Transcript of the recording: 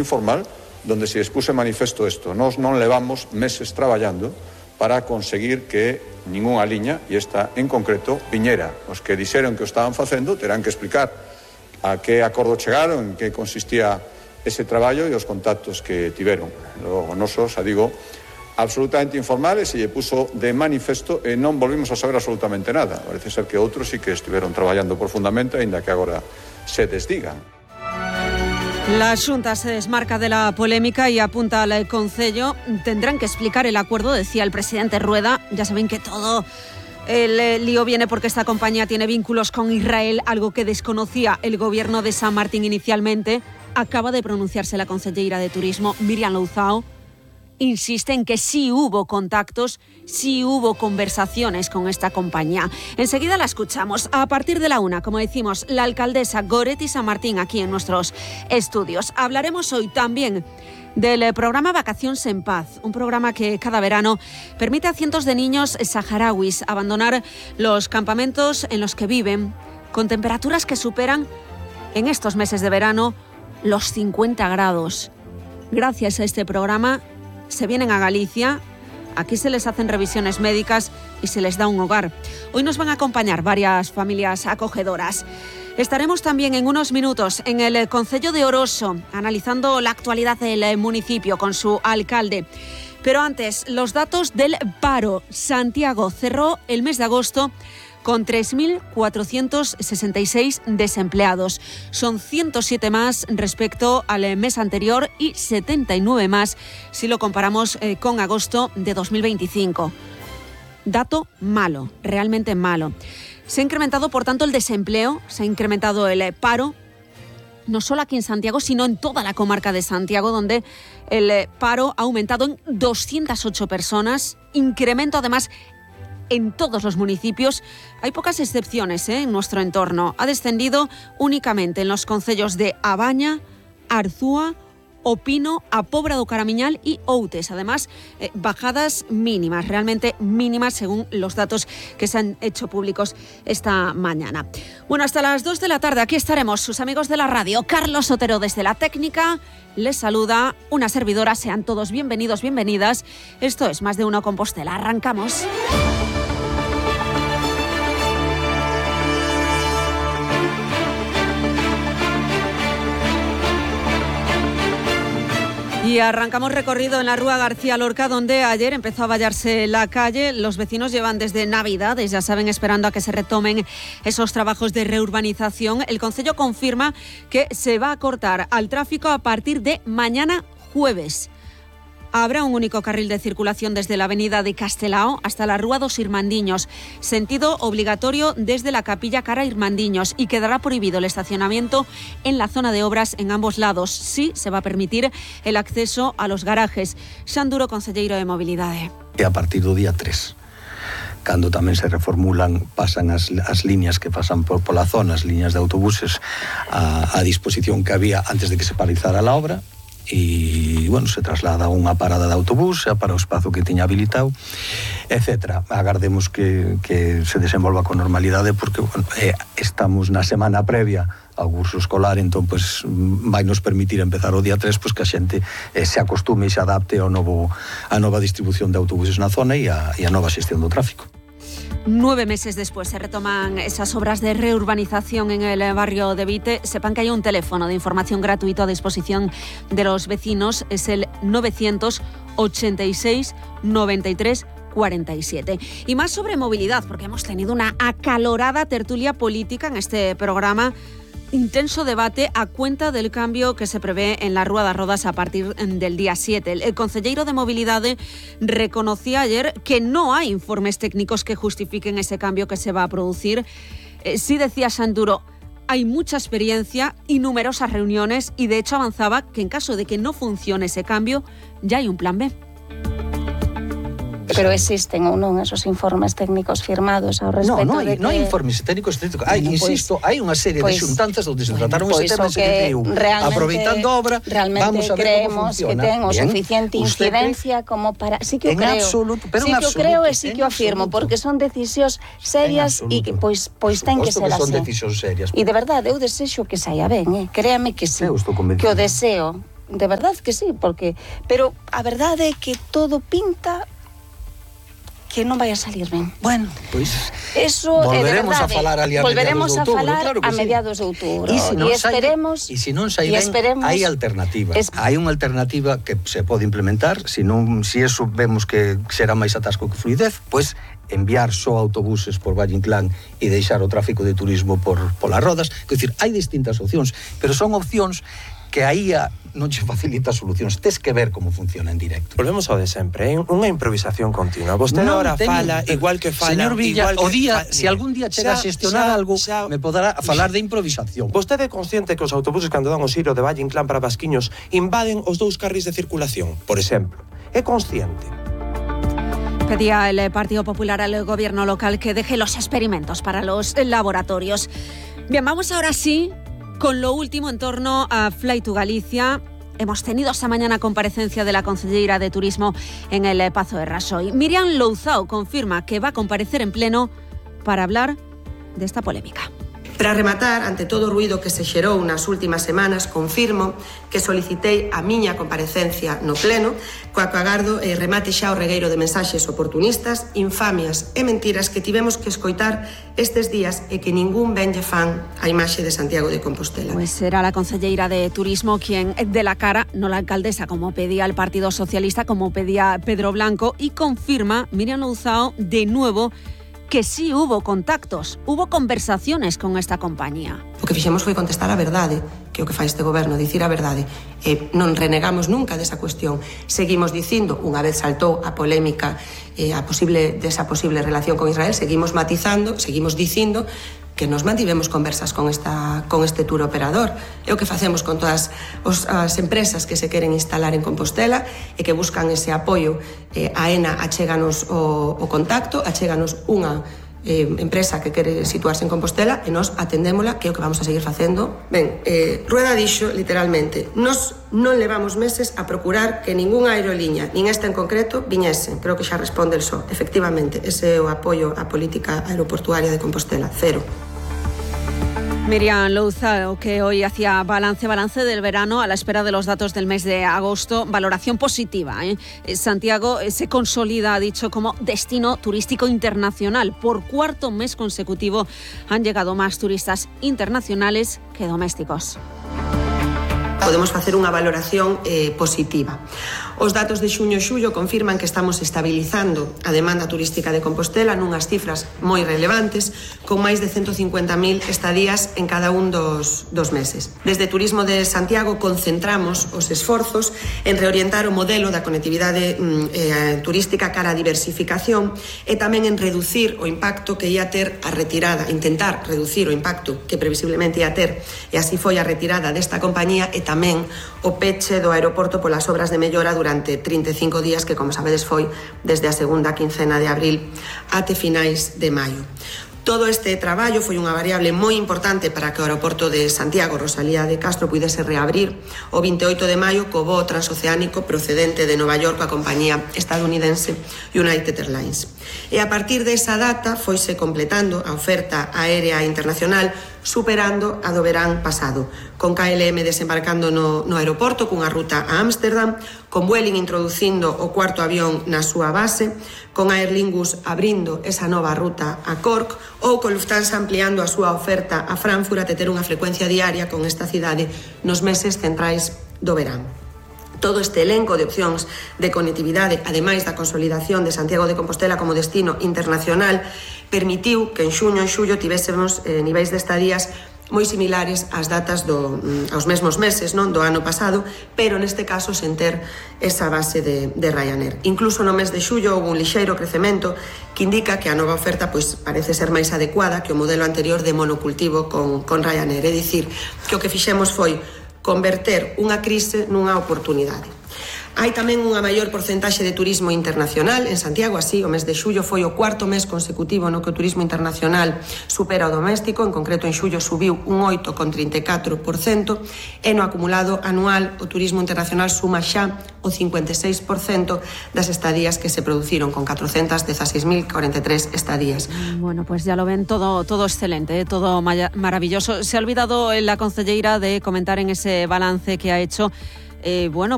informal donde se expuso en manifesto isto. Nós non levamos meses traballando para conseguir que ningunha liña, e esta en concreto, viñera. Os que dixeron que o estaban facendo terán que explicar a que acordo chegaron, en que consistía ese traballo e os contactos que tiveron. Logo, nosos, digo, absolutamente informales, se lle puso de manifesto e non volvimos a saber absolutamente nada. Parece ser que outros sí que estiveron traballando profundamente, aínda que agora se desdigan. La Xunta se desmarca de la polémica y apunta al Concello. Tendrán que explicar el acuerdo, decía el presidente Rueda. Ya saben que todo el lío viene porque esta compañía tiene vínculos con Israel, algo que desconocía el gobierno de San Martín inicialmente. Acaba de pronunciarse la consellera de Turismo, Míriam Louzao. Insiste en que sí hubo contactos, sí hubo conversaciones con esta compañía. Enseguida la escuchamos. A partir de la 1, como decimos, la alcaldesa Goretti San Martín aquí en nuestros estudios. Hablaremos hoy también del programa Vacaciones en Paz, un programa que cada verano permite a cientos de niños saharauis abandonar los campamentos en los que viven, con temperaturas que superan en estos meses de verano los 50 grados. Gracias a este programa se vienen a Galicia, aquí se les hacen revisiones médicas y se les da un hogar. Hoy nos van a acompañar varias familias acogedoras. Estaremos también en unos minutos en el Concello de Oroso, analizando la actualidad del municipio con su alcalde. Pero antes, los datos del paro. Santiago cerró el mes de agosto con 3.466 desempleados. Son 107 más respecto al mes anterior y 79 más si lo comparamos con agosto de 2025. Dato malo, realmente malo. Se ha incrementado, por tanto, el desempleo, se ha incrementado el paro, no solo aquí en Santiago, sino en toda la comarca de Santiago, donde el paro ha aumentado en 208 personas, incremento además en todos los municipios. Hay pocas excepciones en nuestro entorno. Ha descendido únicamente en los concellos de A Baña, Arzúa, O Pino, A Pobra do Caramiñal y Outes. Además, bajadas mínimas, realmente mínimas según los datos que se han hecho públicos esta mañana. Bueno, hasta las 2 de la tarde aquí estaremos, sus amigos de la radio. Carlos Otero desde la técnica les saluda una servidora. Sean todos bienvenidos, bienvenidas. Esto es Más de Uno Compostela. Arrancamos. Y arrancamos recorrido en la Rúa García Lorca, donde ayer empezó a vallarse la calle. Los vecinos llevan desde Navidades, ya saben, esperando a que se retomen esos trabajos de reurbanización. El Concello confirma que se va a cortar al tráfico a partir de mañana jueves. Habrá un único carril de circulación desde la avenida de Castelao hasta la Rúa dos Irmandiños, sentido obligatorio desde la Capilla cara Irmandiños, y quedará prohibido el estacionamiento en la zona de obras en ambos lados. Sí se va a permitir el acceso a los garajes. Xanduro, concelleiro de Mobilidade. E a partir do día 3. Cando tamén se reformulan, pasan as líneas que pasan pola zona, as líneas de autobuses a disposición que había antes de que se paralizara a obra, e, bueno, se traslada a unha parada de autobús para o espazo que tiña habilitado, etc. Agardemos que se desenvolva con normalidade, porque, bueno, estamos na semana previa ao curso escolar, entón, pues, vai nos permitir empezar o día 3, pues, que a xente se acostume e se adapte a nova distribución de autobuses na zona e a nova xestión do tráfico. 9 meses después se retoman esas obras de reurbanización en el barrio de Vite. Sepan que hay un teléfono de información gratuito a disposición de los vecinos. Es el 986 93 47. Y más sobre movilidad, porque hemos tenido una acalorada tertulia política en este programa. Intenso debate a cuenta del cambio que se prevé en la Rúa das Rodas a partir del día 7. El concelleiro de Mobilidade reconocía ayer que no hay informes técnicos que justifiquen ese cambio que se va a producir. Sí, decía Xanduro, hay mucha experiencia y numerosas reuniones, y de hecho avanzaba que en caso de que no funcione ese cambio, ya hay un plan B. Pero existen ou non esos informes técnicos firmados ao respecto non de que... Non hai informes técnicos. Hai, insisto, hai unha serie de xuntanzas onde se trataron este tema, se diu, aproveitando a obra, vamos a ver como funciona. Realmente creemos que ten o suficiente incidencia como para... Sí que o creo. Absoluto, pero sí que o creo e sí que o afirmo, porque son decisións serias e que pois ten que ser así. Son decisións serias. E de verdade, eu desexo que saia ben, créame que sí. Que o deseo. de verdad que sí, pero a verdade é que todo pinta que non vai a salir ben. Bueno, pois eso volveremos a falar ali a mediados de outubro, claro que a mediados de outubro. E se non sai ben, esperemos, hai alternativa. Hai unha alternativa que se pode implementar, se eso vemos que será máis atasco que fluidez, pois enviar só autobuses por Valle Inclán e deixar o tráfico de turismo polas rodas. Quer dicir, hai distintas opcións, pero son opcións que a IA non che facilita solucións, tes que ver como funciona en directo. Volvemos ao de sempre, unha improvisación continua. Vostede ahora fala, igual que fala... Señor Villa, se algún día chega a xestionar algo, me poderá falar de improvisación. Vostede é consciente que os autobuses cando dan o xiro de Valle Inclán para Basquiños invaden os 2 carris de circulación, por exemplo? É consciente? Pedía el Partido Popular al gobierno local que deje los experimentos para los laboratorios. Bien, vamos ahora sí con lo último en torno a Fly to Galicia. Hemos tenido esta mañana comparecencia de la concelleira de Turismo en el Pazo de Rasoy. Miriam Louzao confirma que va a comparecer en pleno para hablar de esta polémica. Para rematar, ante todo o ruído que se xerou nas últimas semanas, confirmo que solicitei a miña comparecencia no pleno, coa que agardo remate xa o regueiro de mensaxes oportunistas, infamias e mentiras que tivemos que escoitar estes días e que ningún benlle fan a imaxe de Santiago de Compostela. Pues será la concelleira de Turismo quien dé la cara, no la alcaldesa, como pedía el Partido Socialista, como pedía Pedro Blanco, y confirma Miriam Louzao de nuevo que sí hubo contactos, hubo conversaciones con esta compañía. O que fixemos foi contestar a verdade, que é o que fai este goberno, dicir a verdade. Non renegamos nunca desa cuestión. Seguimos dicindo, unha vez saltou a polémica desa posible relación con Israel, seguimos matizando, seguimos dicindo que nos mantivemos conversas con este tour operador. É o que facemos con todas as empresas que se queren instalar en Compostela e que buscan ese apoio. A ENA achéganos o contacto, achéganos unha empresa que quere situarse en Compostela e nós atendémola, que é o que vamos a seguir facendo. Ben, Rueda dixo literalmente: nos non levamos meses a procurar que ningunha aeroliña, nin esta en concreto, viñese. Creo que xa responde el só. Efectivamente, ese é o apoio á política aeroportuaria de Compostela, cero. Miriam Louzao, que hoy hacía balance del verano a la espera de los datos del mes de agosto. Valoración positiva. Santiago se consolida, ha dicho, como destino turístico internacional. Por 4º mes consecutivo han llegado más turistas internacionales que domésticos. Podemos facer unha valoración positiva. Os datos de xuño e xullo confirman que estamos estabilizando a demanda turística de Compostela nunhas cifras moi relevantes, con máis de 150.000 estadías en cada un dos meses. Desde Turismo de Santiago concentramos os esforzos en reorientar o modelo da conectividade turística cara a diversificación e tamén en reducir o impacto que ia ter a retirada, intentar reducir o impacto que previsiblemente ia ter, e así foi a retirada desta compañía e tamén o peche do aeroporto polas obras de mellora durante 35 días que, como sabedes, foi desde a segunda quincena de abril até finais de maio. Todo este traballo foi unha variable moi importante para que o aeroporto de Santiago Rosalía de Castro pudese reabrir o 28 de maio co voo transoceánico procedente de Nova York coa compañía estadounidense United Airlines. E a partir desa data foise completando a oferta aérea internacional, superando a do verán pasado, con KLM desembarcando no aeroporto cunha ruta a Ámsterdam, con Vueling introducindo o 4º avión na súa base, con Aer Lingus abrindo esa nova ruta a Cork ou con Lufthansa ampliando a súa oferta a Frankfurt a ter unha frecuencia diaria con esta cidade nos meses centrais do verán. Todo este elenco de opcións de conectividade, ademais da consolidación de Santiago de Compostela como destino internacional, permitiu que en xuño e xullo tivésemos niveis de estadías moi similares ás datas aos mesmos meses, non, do ano pasado, pero neste caso sen ter esa base de Ryanair. Incluso no mes de xullo houve un lixeiro crecemento que indica que a nova oferta parece ser máis adecuada que o modelo anterior de monocultivo con Ryanair. É dicir, que o que fixemos foi converter unha crise nunha oportunidade. Hai tamén unha maior porcentaxe de turismo internacional en Santiago, así o mes de xullo foi o 4º mes consecutivo no que o turismo internacional supera o doméstico, en concreto en xullo subiu un 8,34% e no acumulado anual o turismo internacional suma xa o 56% das estadías que se produciron, con 416.043 estadías. Bueno, pues ya lo ven, todo excelente, todo maravilloso. Se ha olvidado la concelleira de comentar en ese balance que ha hecho bueno,